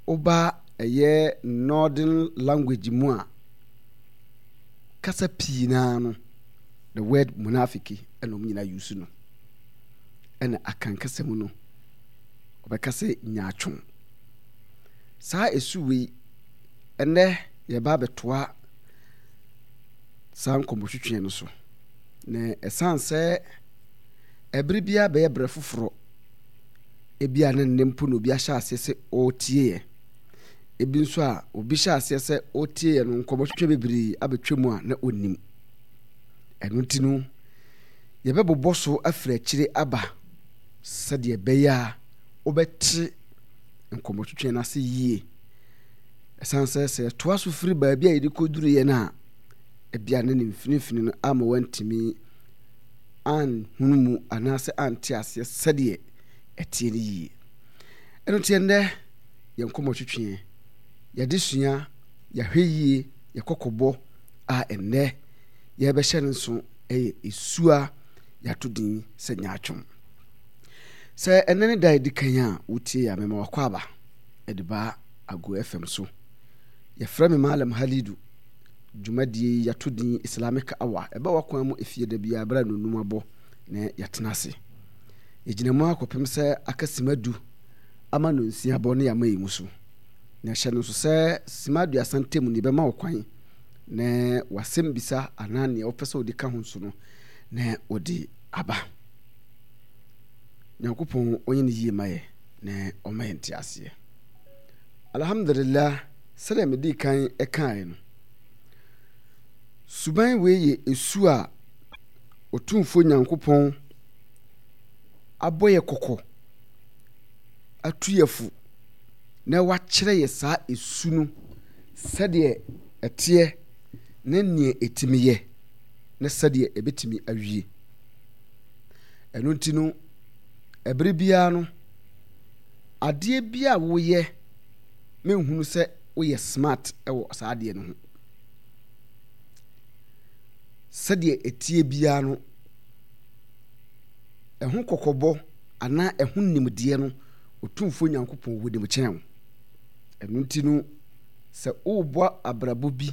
Woba ɛyɛ Northern language mu a, kasa pii naa no, the word munafiki ɛna wɔn nyinaa use no. Ɛna Akan kasa mu no, wɔbɛka sɛ nyaatwom. Saa esu wei, ɛnɛ yɛba abɛtoa saa nkɔmmɔtwetwe no so. Na ɛsan sɛ ɛbere biara bɛyɛ berɛ foforɔ, ebia na nnɛ mpo na obi ahyɛ aseɛ sɛ ɔretie yɛ. Ebi nso a obi hyɛ aseɛ sɛ ɔretie yɛ no, nkɔmmɔtwetwe bebree abɛtwa mu a na ɔnnim. Ɛno nti no, yɛbɛbobɔ so afiri akyire aba sɛdeɛ ɛbɛyɛ a wobɛte nkɔmmɔtwetwe no ase yie. Ɛsiane sɛ sɛ yɛtoa so firi baabi a yɛde kɔduruiɛ no a, ebia ne ne mfinimfini no ama wantumi anhunu mu anaasɛ ante aseɛ sɛdeɛ ɛteɛ no yie. Ɛno nti ɛnnɛ yɛn nkɔmmɔtwetweɛ, yɛadesua, yɛahwɛ yie, yɛkɔkɔbɔ a ɛnnɛ yɛrebɛhyɛ no nso yɛ esu a yɛato din sɛ nyaatwom. Sɛ ɛnnɛ ne da a ɛdi kan a wotie yɛ a, mema wakɔ aba de ba Ago FM so. Yɛfrɛ me Malam Halidu. Dwumadie yi yɛato din Islamic Hour. Ɛba w'akwan mu efie da biara berɛ a nnɔnnum abɔ na yɛatena ase. Yɛgyina mu ara kɔpem sɛ aka sima du ama nnɔnsia abɔ na yɛama yɛn mu so. Na hyɛ no nso sɛ sima 30 ntam no yɛbɛma wo kwan na w'asɛm bisa anaa nea wopɛ sɛ wode ka ho nso no na wode aba. Nyankopɔn ɔnyɛ no yie ma yɛ na ɔma yɛn nteaseɛ. Alhamdulillah, sɛdeɛ medii kan kaeɛ no, suban wei yɛ esu a Otumfoɔ Nyankopɔn abɔ yɛ kɔkɔ, atu yɛ fo, na wakyerɛ yɛ saa esu no sɛdeɛ ɛteɛ ne neɛ ɛtumi yɛ ne sɛdeɛ ɛbɛtumi awie. Ɛno nti no, ɛberɛ biara no, adeɛ bi a woyɛ menhunu sɛ woyɛ smart wɔ saa adeɛ no ho. Sɛdeɛ ɛteɛ biara no, ɛho kɔkɔbɔ anaa ɛho nimdeɛ no, Otumfoɔ Nyankopɔn wɔ nim kyɛn wo. Ɛno nti no, sɛ worebɔ abrabɔ bi,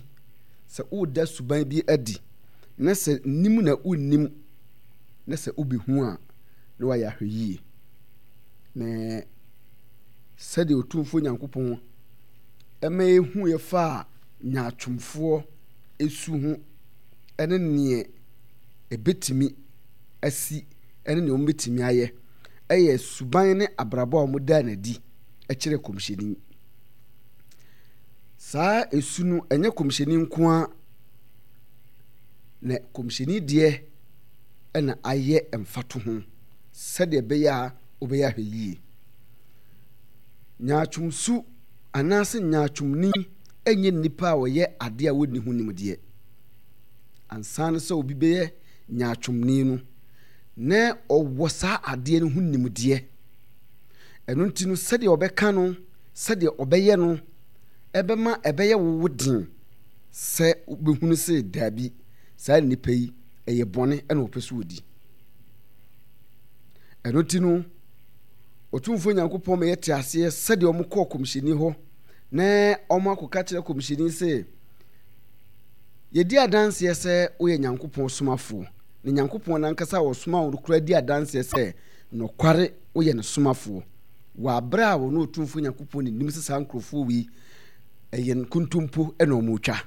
sɛ woreda suban bi adi, na sɛ nim na wonnim, na sɛ wobɛhu a, na wayɛ ahwɛyie. Na sɛdeɛ Otumfoɔ Nyankopɔn ɛma yɛhuiɛ faa nyaatwomfoɔ su ho ne neɛ ɛbɛtumi asi ne neɛ wɔbɛtumi ayɛ yɛ suban ne abrabɔ a wɔdaa no adi kyerɛ kɔmhyɛni. Saa esu no, ɛnyɛ kɔmhyɛni nko ara na kɔmhyɛni deɛ na ayɛ mfatoho sɛdeɛ ɛbɛyɛ a wobɛyɛ ahwɛ yie. Nyaatwomsu anaasɛ nyaatwomni nyɛ nnipa a wɔyɛ adeɛ a wɔnni ho nimdeɛ. Ansa no sɛ obi bɛyɛ nyaatwomni no, na ɔwɔ saa adeɛ no ho nimdeɛ. Ɛno nti no, sɛdeɛ ɔbɛka no, sɛdeɛ ɔbɛyɛ no, ɛbɛma ɛbɛyɛ wo den sɛ wobɛhunu sɛ daabi, saa nnipa yi, ɛyɛ bɔne na wɔpɛ so wɔdi. Ɛno nti no, Otumfoɔ Nyankopɔn ma yɛte aseɛ sɛdeɛ wɔn kɔɔ kɔmhyɛni hɔ na wɔn akɔka kyerɛ kɔmhyɛni sɛ, yɛdi adanseɛ sɛ woyɛ Nyankopɔn somafoɔ, na Nyankopɔn nankasa a ɔsoma wo no koraa di adanseɛ sɛ nɔkware woyɛ ne somafoɔ, wɔ aberɛ a wɔne Otumfoɔ Nyankopɔn ne nim sɛ saa nkurɔfoɔ wei ɛyɛ nkontompo na wɔretwa.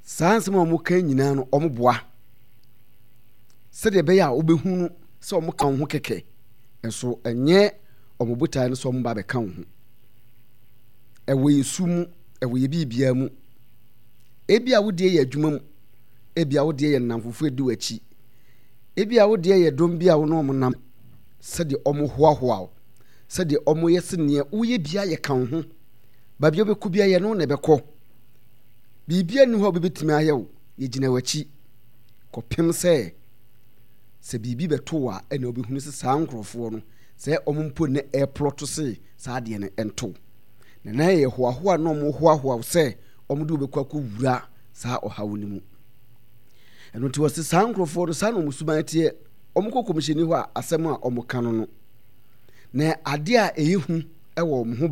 Saa nsɛm a wɔka nyinaa no wɔboa sɛdeɛ ɛbɛyɛ a wobɛhunu sɛ wɔka wo ho kɛkɛ, nso ɛnyɛ wɔn botaeɛ no sɛ wɔn ba bɛka wo ho. Ɛwɔ yɛ su mu, ɛwɔ yɛ biribiara mu. Ebi a wodeɛ yɛ adwuma mu, ebi a wodeɛ yɛ nnamfofo edi w'akyi, ebi a wodeɛ yɛ dɔm bi a wo ne wɔn nam, sɛdeɛ wɔn hoahoa wo, sɛdeɛ wɔn yɛ sɛ nea woyɛ biara yɛ ka wo ho, baabi a wobɛkɔ biara yɛ ne wo na ɛbɛkɔ. Biribiara nni hɔ a obi bɛtumi ayɛ wo, yɛgyina w'akyi kɔpem sɛ sɛ biribi bɛto wo a ɛna wobɛhunu sɛ saa nkurɔfoɔ no sɛ wɔn mpo na ɛreplɔto se saa adeɛ no nto wo. Na na ɛyɛ hoahoa na wɔn hoahoa wo sɛ wɔn de wobɛkɔ akɔwura saa ɔhaw no mu. Ɛno nti wɔse saa nkurɔfoɔ no saa na wɔn suban teɛ, wɔn kɔ kɔmhyɛni hɔ a asɛm a wɔn ka no no na adeɛ a ɛyɛ hu wɔ wɔn ho.